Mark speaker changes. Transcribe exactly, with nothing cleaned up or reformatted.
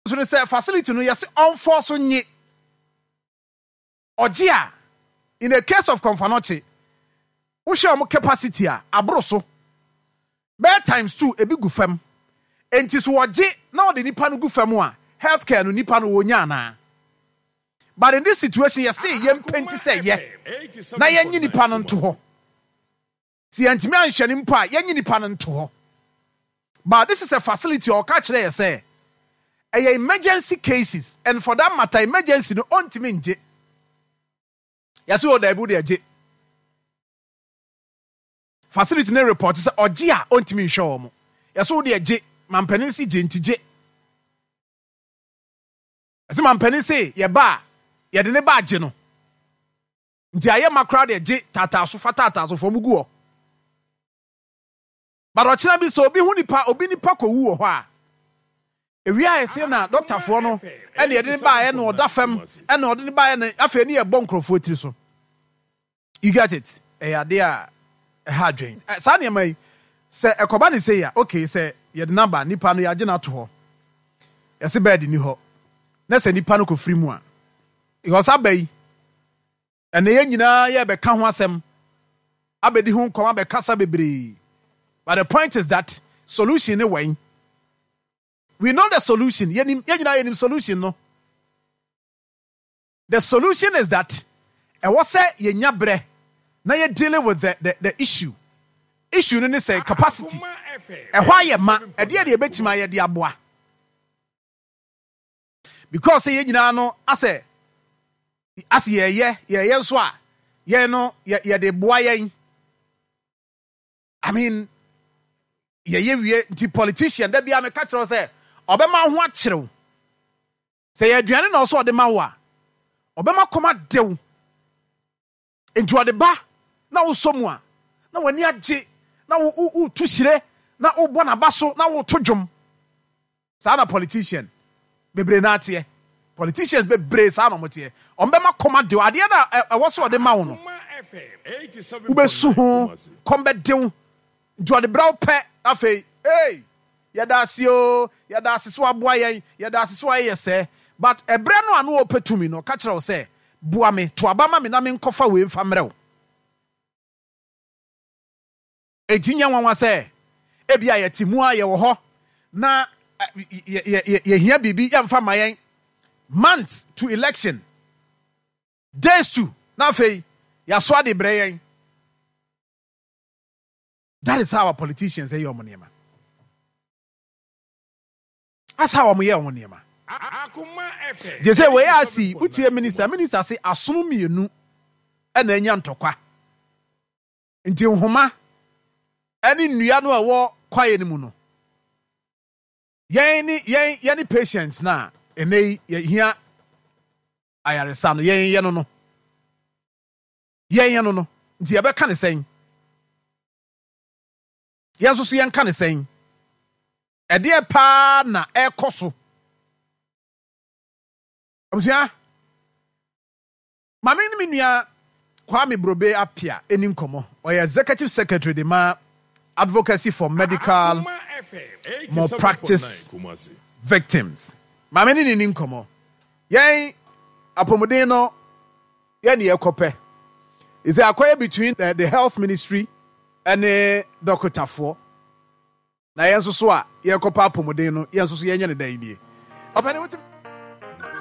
Speaker 1: So ne sɛ facility no, yɛse ɔmfɔ so nye ɔgye a, in a case of Komfo Anokye, wohyɛ ɔmo capacity a aboro so bɛyɛ times two, ebi gu fam. Nti so wɔgye na ɔde nipa no gu fam a, healthcare no, nipa no wɔnya anaa? But in this situation, yɛse yɛn mpɛnti sɛ yɛ na yɛnyi nipa no nto hɔ. Si yɛntumi anhyɛ ne mpo a, yɛnyi nipa no nto hɔ. But this is a facility a ɔka kyerɛ yɛ sɛ ɛyɛ emergency cases, and for that matter, emergency no ɔntumi ngye. Yɛsɛ wɔ daabi, wode agye. Facility ne report sɛ ɔgye a, ɔntumi nhwɛ wɔ mo. Yɛsɛ wode agye. Mampanin si gye, nti gye. Ɛsɛ mampanin se yɛba a, yɛde ne ba agye no, nti ayɛ ma koraa deɛ, gye taataa so, fa taataa so fam gu hɔ. But ɔkyena bi sɛ obi ho nipa, obi nipa kɔwu wɔ hɔ a, ewia a yɛsɛ na dɔktafoɔ no ɛna yɛde ne baeɛ na ɔda fam, ɛna ɔde ne baeɛ na afei ne yɛbɔ nkurɔfoɔ tiri so. You get it? Ɛyɛ adeɛ a ɛha adwen. Saa nneɛma yi sɛ ɛkɔba ne sɛ a, okay, sɛ yɛde naba nipa no, yɛagye no ato hɔ, yɛsɛ bed ni hɔ, na sɛ nipa no kɔfiri mu a, because aba yi ɛnna yɛn nyinaa yɛbɛka ho asɛm, abɛdi ho nkɔm, abɛkasa bebree. But the point is that solution ne wɛn? We know the solution. Yɛnim, yɛn nyinaa yɛnim solution no. The solution is that ɛwɔ sɛ yɛnya berɛ na yɛ dealing with the, the, the issue. Issue no ne sɛ capacity ɛhɔ ayɛ ma ɛdeɛ deɛ yɛbɛtumi ayɛ de aboa, because sɛ yɛn nyinaa no asɛ asɛ yɛyɛ yɛyɛ nso a, yɛn no yɛ yɛde boa yɛn. I mean, yɛyɛ wie nti politician da bia meka kyerɛw sɛ ɔbɛma ho akyerɛw sɛ yɛ aduane na ɔsɛ ɔde ma wo a, ɔbɛma kɔm adew. Nti ɔde ba na wosɔ mu a, na w'ani agye, na wotu hyire, na wobɔ n'aba so, na woto dwom. Saa na politician bebree na ateɛ. Politicians bebree, saa na ɔmo teɛ. Ɔmo bɛma kɔm adew. Adeɛ na ɛwɔ sɛ ɔde ma wo no, wobɛsu ho, kɔm bɛdew. Nti ɔde brɛ wo pɛ, afei hey, yɛda ase o, yɛda ase so aboa yɛn, yɛda ase so ayɛ sɛ. But ɛbrɛ no a no ɔpɛ tumi no, ɔka kyerɛ wo sɛ boa me, to aba ma me na menkɔfa wei mfa mmerɛ wo. Enti nyɛ nwanwa sɛ ebi a yɛte mu a, yɛwɔ hɔ na yɛhia biribi, yɛmfa ma yɛn months to election, days to, na afei yɛaso ade brɛ yɛn. That is how our politicians ɛyɛ ɔmo nneɛma. That's how ɔmo yɛ ɔmo nneɛma. Gye sɛ wei asi wotie minister minister se asono mmienu ɛna anya ntɔkwa, nti nhoma ɛne nnua no a ɛwɔ kwaeɛ no mu no, yɛn ne yɛn yɛn ne patients na ɛnɛ yi yɛhia ayaresa no, yɛn yɛ no no yɛn yɛ no no nti yɛbɛka ne sɛn? Yɛn nso so yɛnka ne sɛn? Ɛdeɛ paa na ɛrekɔ so. Abusua, maame ne me nua Kwame Brobe Apia ɛni nkɔmmɔ. Ɔyɛ executive secretary de ma Advocacy for Medical Malpractice Victims. Maame ne ne ni nkɔmmɔ. Yɛn apɔmuden no, yɛn ne yɛkɔpɛ ɛsɛ akɔyɛ between the, the health ministry ɛne dɔkotafoɔ, na yɛn nso so a yɛkɔpɛ apɔmuden no, yɛn nso so yɛnyɛ ne dan nie. Ɔpɛni wote.